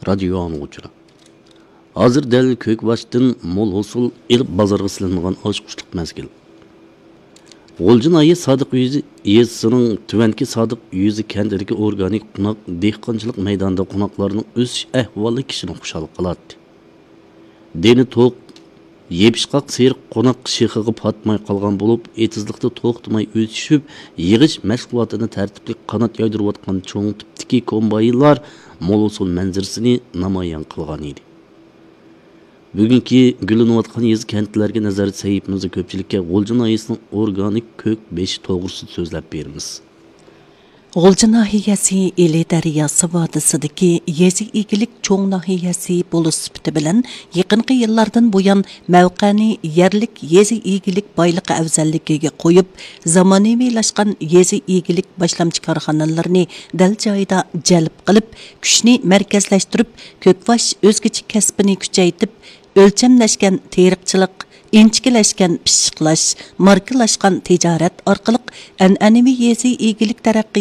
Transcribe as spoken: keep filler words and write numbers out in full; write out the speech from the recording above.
رادىيو ئاڭلىغۇچىلار، ھازىر دەل كۆكباشتىن مول ھوسۇل ئېلىپ بازارغا سېلىنىدىغان ئاچقۇچلۇق مەزگىل. غۇلجا ناھىيە سادىق يۈزى يېزىسىنىڭ تۆۋەنكى سادىق يۈزى كەنتىدىكى ئورگانىك قوناق دېھقانچىلىق مەيدانىدا قوناقلارنىڭ ئۆسۈش ئەھۋالى كىشىنى خۇشال قىلاتتى. دېنى توق، يېپىشقاق سېرىق قوناق شېخىغا پاتماي قالغان بولۇپ، ئېتىزلىقتا توختىماي ئۆسۈشۈپ، يىغىش مەشغۇلاتىنى تەرتىپلىك قانات يايدۇرۇۋاتقان چوڭ تىپتىكى كومباينلار مول ھوسۇل مەنزىرىسىنى نامايان قىلغان ئىدى. بۈگۈنكى گۈللىنىۋاتقان يېزا كەنتلەرگە نەزەر سەھىپىمىزدە كۆپچىلىككە غۇلجا ناھىيەسىنىڭ ئورگانىك كۆك بېشى توغرىسىدا سۆزلەپ بېرىمىز. غۇلجا ناھىيەسى ئىلى دەرياسى ۋادىسىدىكى يېزا ئىگىلىك چوڭ ناھىيەسى بولۇش سۈپىتى بىلەن، يېقىنقى يىللاردىن بۇيان مەۋقەنى يەرلىك يېزا ئىگىلىك بايلىقى ئەۋزەللىكىگە قويۇپ، زامانىۋىلاشقان يېزا ئىگىلىك باشلامچى كارخانىلىرىنى دەل جايىدا جەلپ قىلىپ، كۈچنى مەركەزلەشتۈرۈپ، كۆكباش ئۆزگىچە كەسپىنى كۈچەيتىپ، ئۆلچەملەشكەن تېرىقچىلىق، ئىنچىكىلەشكەن پىششىقلاش، ماركىلاشقان تىجارەت ئارقىلىق ئەنئەنىۋى يېزا ئىگىلىك تەرەققىي